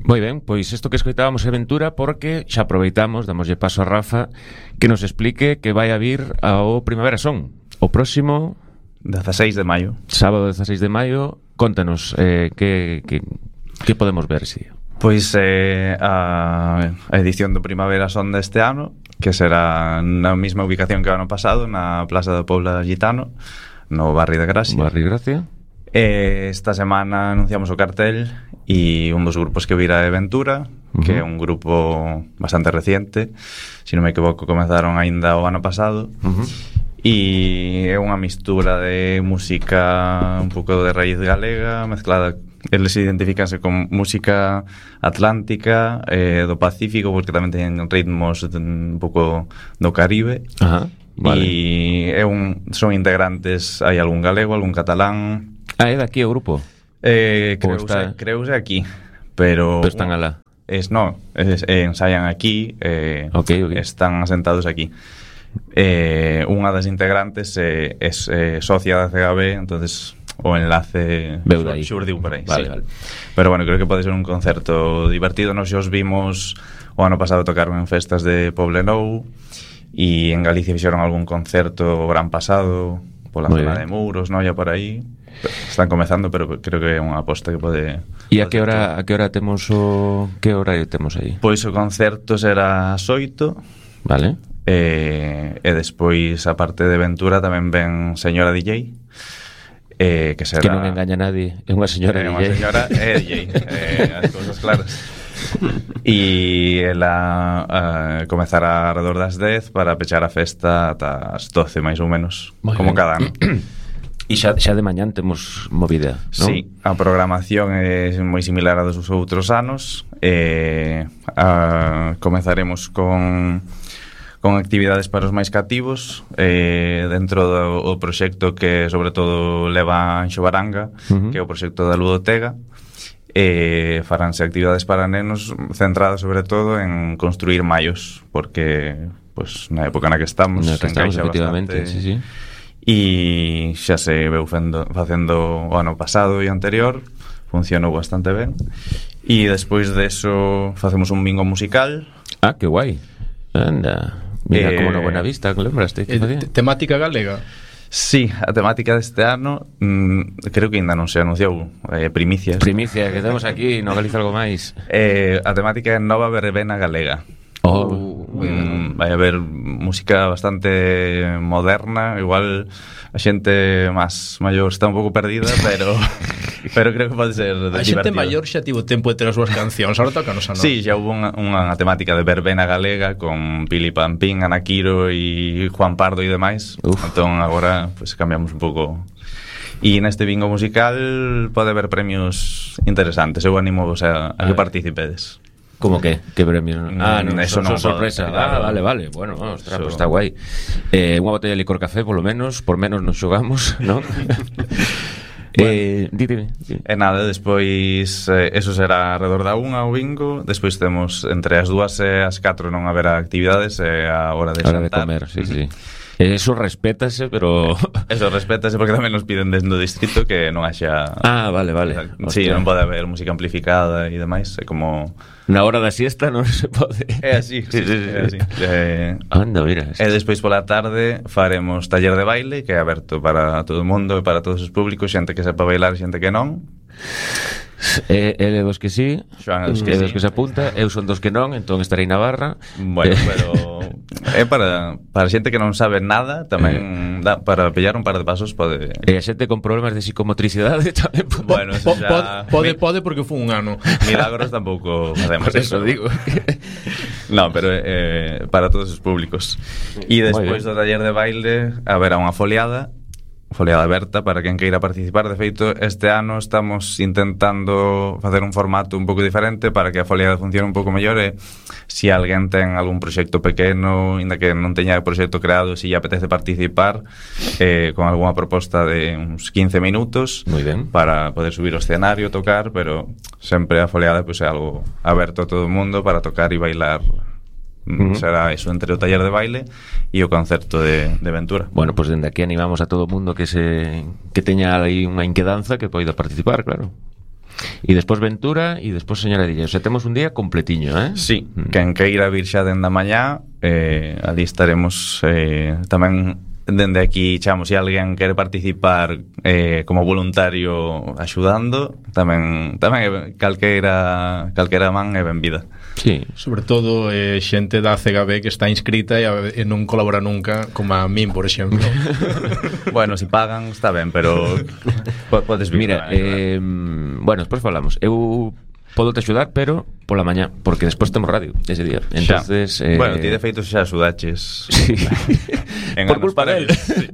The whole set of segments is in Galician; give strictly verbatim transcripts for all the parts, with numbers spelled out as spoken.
Moi ben, pois isto que escoitábamos é Ventura, porque xa aproveitamos, damoslle paso a Rafa que nos explique que vai a vir ao Primavera Son o próximo dezasseis de maio. Sábado dezasseis de maio. Contanos eh, que, que, que podemos ver ese día. Pois eh, a, a edición do Primavera Son deste ano, que será na mesma ubicación que o ano pasado, na Plaza do Pobla Gitano, no barrio de Gracia. Barrio de Gracia. Eh, esta semana anunciamos o cartel e un dos grupos que virá é Ventura, uh-huh. que é un grupo bastante reciente, se non me equivoco comezaron aínda o ano pasado, uh-huh. e é unha mistura de música un pouco de raíz galega mezclada, eles identificanse con música atlántica, eh, do Pacífico, porque tamén teñen ritmos un pouco do Caribe. Ajá, vale. E é un, son integrantes, hai algún galego, algún catalán. Ah, é daqui o grupo? Eh, creuse, está... creuse aquí, pero... Pero están alá. Es, no, es, eh, ensayan aquí, eh, okay, okay. Están asentados aquí. Eh, unha das integrantes eh, es eh, socia da C G B, entonces o enlace xurdiu por aí. Vale, sí. vale. Pero bueno, creo que pode ser un concerto divertido. Nos os vimos o ano pasado tocaron en festas de Poblenou, e en Galicia fixeron algún concerto o gran pasado pola Muy zona bien. de Muros, no, ya por aí. Están comezando, pero creo que é unha aposta que pode... E a que hora a que hora temos o que horario temos aí? Pois o concerto será ás oito. Vale. E, e despois a parte de Ventura tamén ven Señora D J. Eh, que será... Que non engaña a nadie, é unha señora é D J. Unha señora é D J, eh, as cousas claras. E ela uh, comezará alrededor das dez para pechar a festa ata as doce, máis ou menos, Muy como bien. cada ano. E xa, xa de mañán temos movida, non? Sí, a programación é moi similar a dos outros anos. eh, a, Comezaremos con con actividades para os máis cativos, eh, dentro do o proxecto que sobre todo leva Anxo Baranga, uh-huh. que é o proxecto da Ludotega. Eh, faránse actividades para nenos centradas sobre todo en construir mallos, porque pues, na época na que estamos, na que estamos efectivamente, bastante, sí, sí. E xa se veu fendo, facendo o ano pasado e anterior, funcionou bastante ben. E despois deso facemos un bingo musical. Ah, que guai. Anda, mira, eh, como na Buenavista, lembraste? Que eh, temática galega? Sí, a temática deste ano mmm, creo que ainda non se anunciou, eh, primicias. Primicia, que temos aquí, no Galiza algo máis. Eh, a temática é Nova Verbena Galega. Oh, mm, vai haber música bastante moderna, igual a xente máis maior está un pouco perdida, pero pero creo que pode ser divertido. A xente maior xa tivo tempo de ter as súas cancións, ahora toca nos a nós. Sí, xa hubo unha, unha temática de verbena galega con Pili Pampín, Ana Quiro e Juan Pardo e demais. Uf. Entón agora pues, cambiamos un pouco. E neste bingo musical pode haber premios interesantes. Eu animo vos a, a que participedes. Como que? Que premio? Ah, non, eso son, non son sorpresa. Ah, vale, vale. Bueno, ostras, pues está guai. Eh, unha botella de licor café, polo menos, por menos nos xogamos, non? Bueno, eh, díteme, díteme. E nada, despois eh, eso será alrededor da unha o bingo. Despois temos entre as dúas e as catro non haberá actividades, é a hora de a hora xantar. de comer, sí, sí. Eso respétase, pero... Eso respétase porque tamén nos piden desde o distrito que non haxa... Ah, vale, vale. Sí, non pode haber música amplificada e demais. É como... Na hora da siesta non se pode. É así, sí, sí, sí, é así. Eh, Anda, mira. E despois pola tarde faremos taller de baile, que é aberto para todo o mundo e para todos os públicos, xente que sepa bailar e xente que non. E, ele dos que sí, Xoan dos que, que, sí. dos que se apunta, eu son dos que non, entón estarei na barra. Bueno, pero é para para xente que non sabe nada, tamén dá para pillar un par de pasos pode. E a xente con problemas de psicomotricidade tamén pode. Bueno, eso xa... pode, pode porque foi un ano. Milagros tampouco facemos. Por eso digo. No, pero eh, para todos os públicos. E despois do taller de baile haberá unha foliada foliada aberta para quen queira participar. De feito, este ano estamos intentando facer un formato un pouco diferente para que a foliada funcione un pouco mellor e se alguén ten algún proxecto pequeno, ainda que non teña o proxecto creado, se lle apetece participar eh, con algunha proposta de uns quince minutos. Muy ben. Para poder subir ao escenario, tocar, pero sempre a foliada pues, é algo aberto a todo o mundo para tocar e bailar. Uh-huh. Será eso entre o taller de baile e o concerto de, de Ventura. Bueno, pues dende aquí animamos a todo o mundo que se que teña aí unha inquedanza que poida participar, claro. E despois Ventura e despois Señoradilla. O sea, temos un día completiño, eh? Sí, Mm. quen queira vir xa dende a mañá, eh, ali estaremos eh, tamén dende aquí chamos, se alguén quere participar eh, como voluntario axudando, tamén tamén é calquera calquera man é benvida. Sí. Sobre todo eh, xente da C G B que está inscrita e, a, e non colabora nunca, como a min, por exemplo. Bueno, si pagan está ben, pero po- podes vir. Mira, eh, eh, bueno, despois falamos. Eu podo te axudar, pero pola mañá, porque despois temos radio ese día. Entonces, xa. eh... Bueno, ti de feito xa axudaches. Sí. En Por anos culpa del. previos, sí.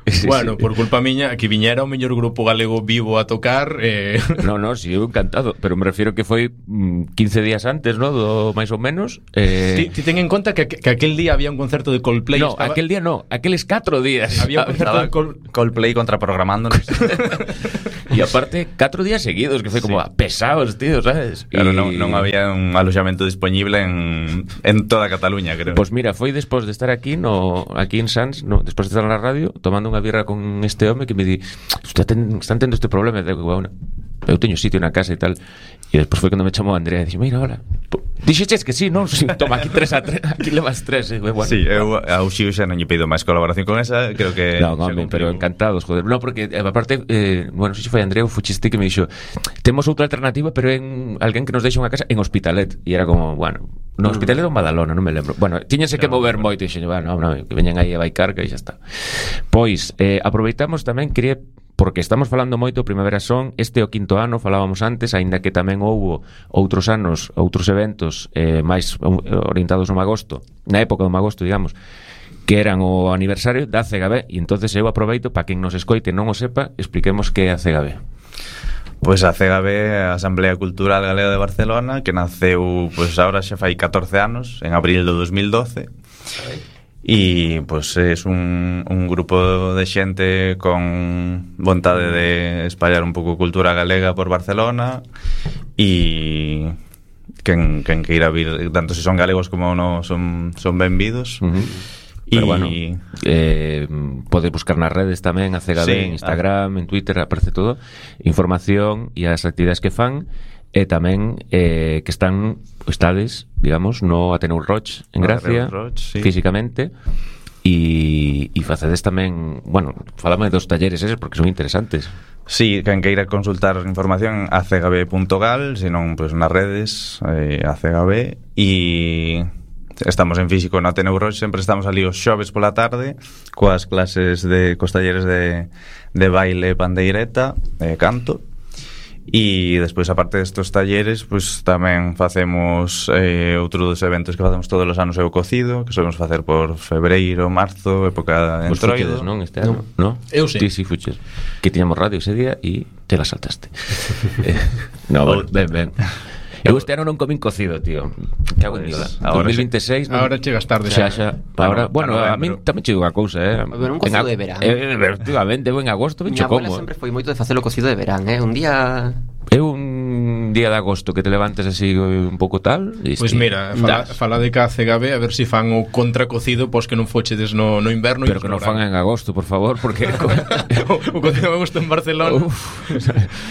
Sí, Bueno, sí. por culpa miña, que viñera o mellor grupo galego vivo a tocar eh... No, no, si sí, eu encantado, pero me refiero que foi mm, quince días antes, ¿no? Do máis ou menos. Eh... Ti, ti ten en conta que, que aquel día había un concerto de Coldplay. No, estaba... aquel día no, aqueles catro días. Había un concerto Estaba de Col... Coldplay contraprogramándonos. E aparte, catro días seguidos, que foi como Sí. ah, pesados, tío, ¿sabes? Claro, Y- non, non había un alojamento disponible en, en toda Cataluña, creo. Pois pues mira, foi despois de estar aquí no aquí en Sans, no, despois de estar na radio, tomando unha birra con este home que me di, "Usted ten, están tendo este problema", e digo, bueno, eu teño sitio na casa e tal. E despois foi cando me chamou Andrea e dixo, "Mira, hola. Dixeches que sí, non? Sí, toma aquí tres a tres, aquí levas tres." E, bueno, Sí, eu ao Xiu xa non lle pido máis colaboración con esa, creo que No, xa home, cumpriu. pero encantados, joder. No, porque eh, aparte, eh, bueno, non sei se foi Andrea ou fuchiste que me dixo, temos outra alternativa, pero en alguén que nos deixa unha casa en Hospitalet. E era como, bueno, no Hospitalet ou Badalona, non me lembro. Bueno, tiñense que mover moito e dixen, bueno, no, que veñan aí a Baicarca e xa está. Pois, eh, aproveitamos tamén, quería, porque estamos falando moito Primavera Son, este é o quinto ano, falábamos antes, aínda que tamén houbo outros anos, outros eventos eh, máis orientados no magosto, na época do magosto, digamos, que eran o aniversario da C G B, e entonces eu aproveito para quen nos escoite non o sepa, expliquemos que é a C G B. Pois a C G B, a Asamblea Cultural Galega de Barcelona, que naceu, pois agora xa fai catorce anos, en abril do dos mil doce. E pois é un, un grupo de xente con vontade de espallar un pouco cultura galega por Barcelona e quen, quen queira vir, tanto se son galegos como non, son, son benvidos. Uh-huh. E Pero bueno, eh, pode buscar nas redes tamén, a C G B, Sí, en Instagram, en Twitter, aparece todo, información e as actividades que fan, e tamén eh, que están, estades, digamos, no Ateneu Roig en No Gracia, Ateneu Roig, sí. físicamente, e, e facedes tamén, bueno, falame dos talleres eses porque son interesantes. Sí, quen queira consultar información a c g b punto gal, senón pois nas redes eh, a C G B, e estamos en físico no Ateneu Roig, sempre estamos ali os xoves pola tarde coas clases de cos talleres de, de baile, pandeireta e canto. E despois, aparte destos talleres, pois tamén facemos eh, outro dos eventos que facemos todos os anos é o cocido, que solemos facer por febreiro, marzo, época de Vos entroido. fuchedes, non, este ano? No. Eu sí. Ti sí fuches. Que tiñamos radio ese día e te la saltaste. eh, no, bueno, ben, ben. Eu este ano non comín cocido, tío. Cago en Dios. Ahora dos mil veintiséis non- Ahora chegas tarde Xa, xa. xa. Ahora, bueno, para a min novembro. tamén chego unha cousa, eh. Pero un En cocido ag- de verán. Eh, efectivamente, eu en agosto Miña bicho abuela como. sempre foi moito de facer o cocido de verán, eh? Un día... É un día de agosto que te levantes así un pouco tal. Pois pues mira, fala, fala de que a C G B a ver se si fan o contracocido pois que non fochedes no, no inverno. Pero que non fan en agosto, por favor, porque o, o cocido de agosto en Barcelona. Uf.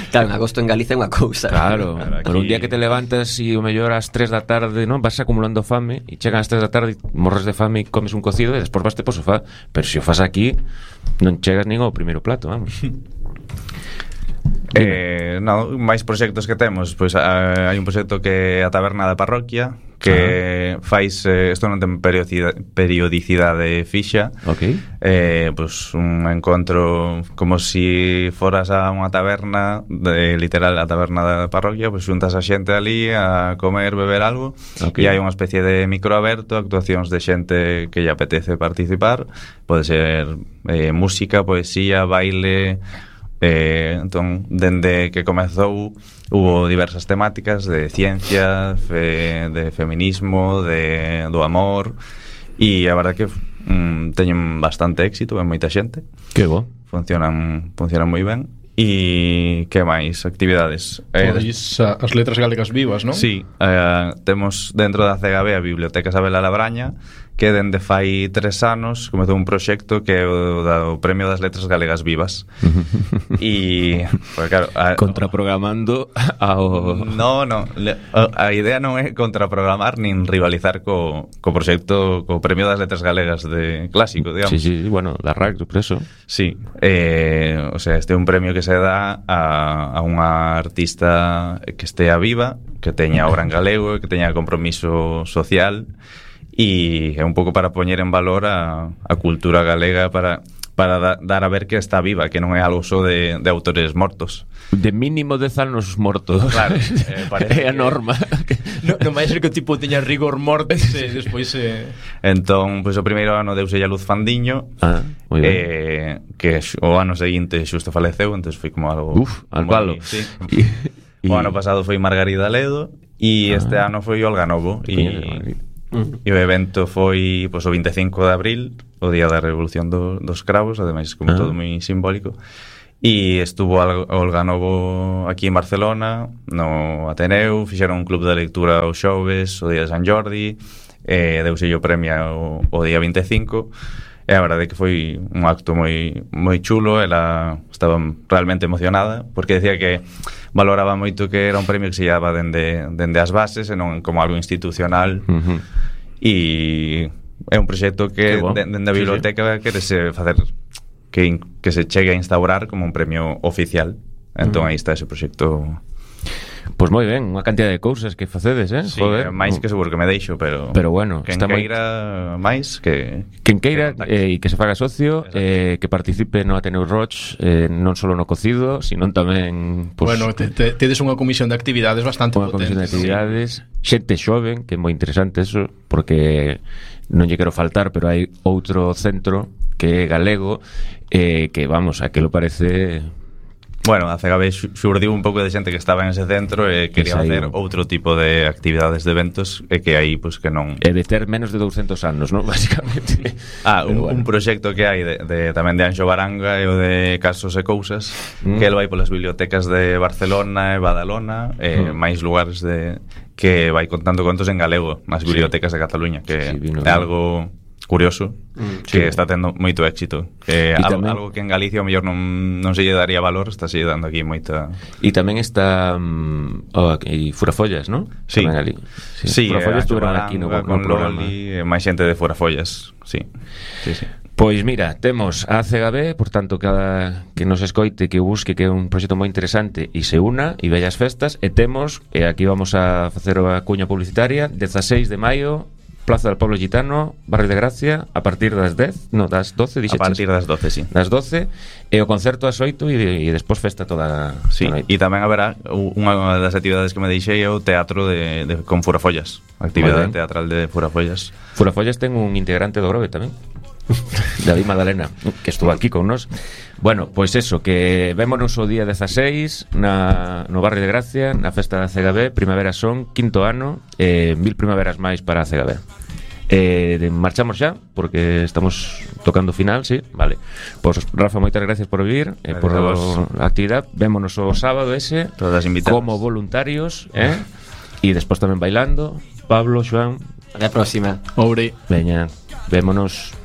Claro, en agosto en Galicia é unha cousa. Claro, Claro, aquí- pero un día que te levantas e o mellor ás tres da tarde, non, vas acumulando fame e chegan ás tres da tarde, morres de fame e comes un cocido e despois vaste po sofá. Pero se o fas aquí, non chegas nin ao primeiro plato, vamos. Eh, no, máis proxectos que temos, pois a, hai un proxecto que é a Taberna da Parroquia, que uh-huh. fais, eh, isto non ten periodicidade, periodicidade fixa. Ok. Eh, pois un encontro como si foras a unha taberna, de, literal a taberna da parroquia, pois xuntas a xente ali a comer, beber algo, Ok. e hai unha especie de microaberto, actuacións de xente que lle apetece participar, pode ser eh, música, poesía, baile. Eh, entón, dende que comezou hubo diversas temáticas de ciencia, fe, de feminismo, de, do amor, e a verdade que mm, teñen bastante éxito, en moita xente, Que bo. funcionan funcionan moi ben. E que máis actividades? Eh, Pois a- as letras galegas vivas, non? Sí, eh, temos dentro da C G B a Biblioteca Isabel Alabraña, que dende fai tres anos comezou un proxecto que é o, da, o Premio das Letras Galegas Vivas. E, pues, claro, a, contraprogramando ao... No, no, le, a, a idea non é contraprogramar nin rivalizar co, co proxecto, co Premio das Letras Galegas de clásico, digamos. Sí, sí, bueno, da R A C, por eso. Sí, eh, o sea, este é un premio que se dá a, a unha artista que estea viva, que teña obra en galego, que teña compromiso social, e é un pouco para poñer en valor a, a cultura galega, para, para da, dar a ver que está viva, que non é algo só de, de autores mortos. De mínimo dez anos mortos. Claro, eh, parece é a norma. Non no vai ser que o tipo teña rigor mortis e despois se... Entón, pois pues, o primeiro ano deuse a Luz Fandiño, ah, moi ben. eh, que o ano seguinte xusto faleceu, entón foi como algo... Uf, al palo. Sí. Y, o ano pasado foi Margarida Ledo e ah, este ano foi Olga Novo e... E o evento foi pois, o vinte e cinco de abril, o día da Revolución do, dos Cravos, ademais como ah. todo moi simbólico. E estuvo Olga Novo aquí en Barcelona, no Ateneu, fixeron un club de lectura os xoves, o día de San Jordi, e deuse o premio o, o día vinte e cinco. E a verdade é que foi un acto moi moi chulo, ela estaba realmente emocionada, porque decía que valoraba moito que era un premio que se llevaba dende, dende as bases e non como algo institucional. Uh-huh. E é un proxecto que bon. dende a biblioteca sí, sí. querese facer que, que se chegue a instaurar como un premio oficial. Entón uh-huh. aí está ese proxecto. Pois moi ben, unha cantidad de cousas que facedes, eh? Sí, Joder. máis que seguro que me deixo, pero pero bueno, quen está queira moi... máis que quen queira e eh, que se faga socio, eh, que participe no Ateneu Roch, eh, non só no cocido, sino tamén pues, bueno, te, te, tedes unha comisión de actividades bastante unha potente. Unha comisión de actividades, sí. Xente xoven, que é moi interesante eso, porque non lle quero faltar, pero hai outro centro que é galego, eh, que vamos, a que lo parece... Bueno, a C G B xurdiu un pouco de xente que estaba en ese centro e quería facer outro tipo de actividades de eventos e que aí, pois, que non... É de ter menos de douscentos anos, non? Básicamente. Ah, un, bueno. un proxecto que hai de, de, tamén de Anxo Baranga e o de Casos e Cousas, mm. que ele vai polas bibliotecas de Barcelona e Badalona e mm. máis lugares de que vai contando contos en galego nas bibliotecas sí. de Cataluña, que sí, é algo... curioso, mm, que sí. está tendo moito éxito, que algo, algo que en Galicia o mellor non, non se lle daría valor, está se lle dando aquí moita... E tamén está um, oh, e Furafollas, non? Sí, ali. Sí, sí, Furafollas estuveron aquí no, no con programa. Loli, máis xente de Furafollas, sí. Sí, sí. Pois mira, temos a C G B, por tanto, cada que nos escoite, que busque, que é un proxecto moi interesante e se una, e vellas festas, e temos, e aquí vamos a facer a cuña publicitaria, dezaseis de maio, Plaza del Pueblo Gitano, Barrio de Gracia, a partir das dez, no, das doce, dixeches. A partir das doce, sí. Das doce, e o concerto ás oito e, e despois festa toda... Sí, e tamén haberá unha das actividades que me deixei é o teatro de, de con Furafollas, actividade teatral de Furafollas. Furafollas ten un integrante do Grove tamén, David Madalena, que estuvo aquí con nos. Bueno, pois pues eso, que vémonos o día dezaseis na, no Barrio de Gracia, na festa da C G B, Primavera Son, quinto ano, eh, mil primaveras máis para a C G B. Eh, marchamos xa, porque estamos tocando final, sí, vale. Pois pues, Rafa, moitas gracias por vir, eh, por a actividade. Vémonos o sábado ese, todas invitadas como voluntarios, eh? E despois tamén bailando. Pablo, Xoán, a la próxima. Obre. Veña, vémonos.